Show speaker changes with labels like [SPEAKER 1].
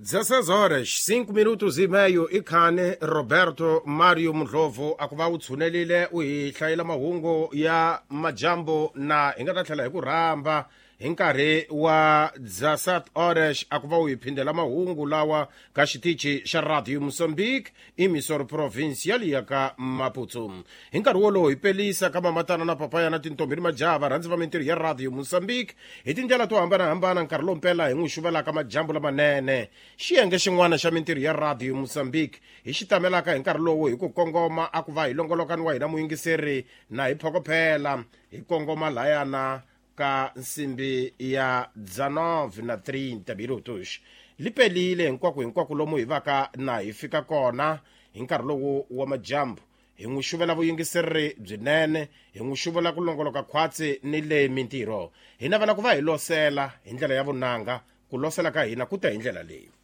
[SPEAKER 1] 16 horas 5 minutos e meio i khane Roberto Mario Mudlovu a ku va u tshunelile u hi hlayela mahungu ya majambu na hi nga ta tlhela hi ku rhamba hi nkarhi wa 17 horas a ku va u hi phindela mahungu lawa ka xitichi xa Radio Mozambique emissora provincial ya ka Maputo. Hi nkarhi wolowo hi pelisa ka mamatana na papaya na tintombi ni majaha varhandzi va mintirho ya Radio Mozambique hi tindlela to hambanahambana nkarhi lowu mpela hi n'wi xuvelaka majambu lamanene. Xiyenge xin'wana xa mintirho ya Radio Mozambique hi xi tamelaka hi nkarhi lowu hi ku kongoma a ku va hi longolokani wa hina muyingiseri na hi phokophela hi kongoma layana ka nsimbi ya 19 na 30 minutos. Li pelile hinkwako hinkwako lomu hi vaka na hi fika kona hi nkarhi lowu wa majambu. Hi n'wi xuvela vuyingiseri byinene, hi n'wi xuvela ku longoloka khwatsi ni le mintirho. Hi navela ku va hi losela hi ndlela ya vunanga, ku losela ka hina ku ta hi ndlela leyi.